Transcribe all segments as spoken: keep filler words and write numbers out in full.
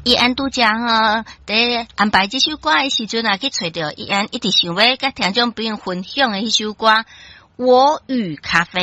伊安拄才吼，佇安排這首歌的時陣啊，去揣著伊安一直想欲佮聽眾朋友分享的彼首歌《我與咖啡》，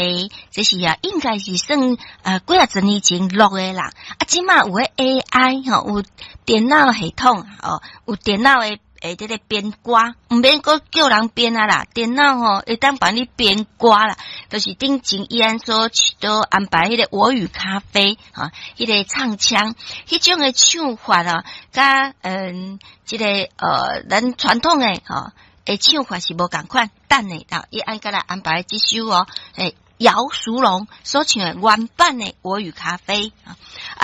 這是啊，應該是算呃幾仔十年前錄的啦。啊，這馬有彼 A I 吼，有電腦系統哦，有電腦的會這個編歌，毋免閣叫人編啊啦，電腦吼會當幫你編歌啦。就是頂前伊安所都安排彼個《我與咖啡》吼，彼個唱腔，彼種的唱法啊，佮嗯，這個呃，咱傳統的吼的唱法是無仝款。等下啊，伊按閣來安排這首哦，欸，姚淑龍所唱的原版的《我與咖啡》啊，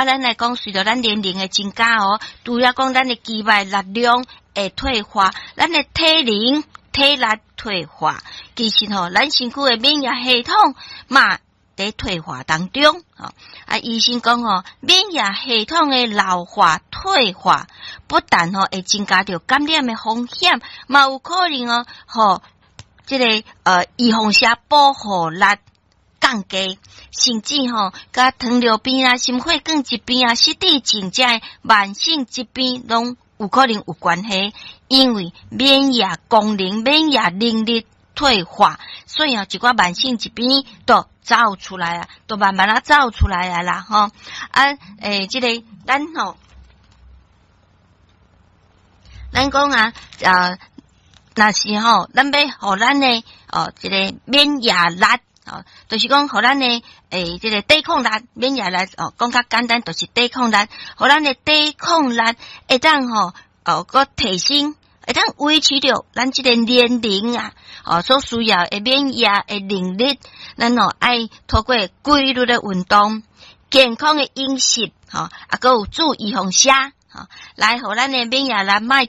咱來講，隨著咱年齡的增加哦，除了講咱的肌肉力量會退化，咱的體能體力退化，其實吼，咱身軀的免疫系統嘛佇退化當中。啊，醫生講吼，免疫系統的老化退化，不但吼會增加著感染的風險，嘛有可能哦，予這個呃預防射保護力降低，甚至吼，佮糖尿病啊、心血管疾病啊、失智症這慢性疾病攏有可能有關係，因為免疫功能、免疫能力退化，所以啊，一寡慢性疾病都走出來啊，都慢慢仔走出來啊啦，吼啊，欸，這個咱吼，咱講啊，啊，若是吼，咱欲予咱的哦，這個免疫力哦，就是講予咱的欸，這個抵抗力，免疫力哦，講較簡單，就是抵抗力，予咱的抵抗力會當吼哦，閣提升，會當維持著咱這個年齡啊，哦，所需要的免疫的能力，咱哦愛透過規律的運動、健康的飲食，吼，啊，閣有注預防射，吼，來予咱的免疫力莫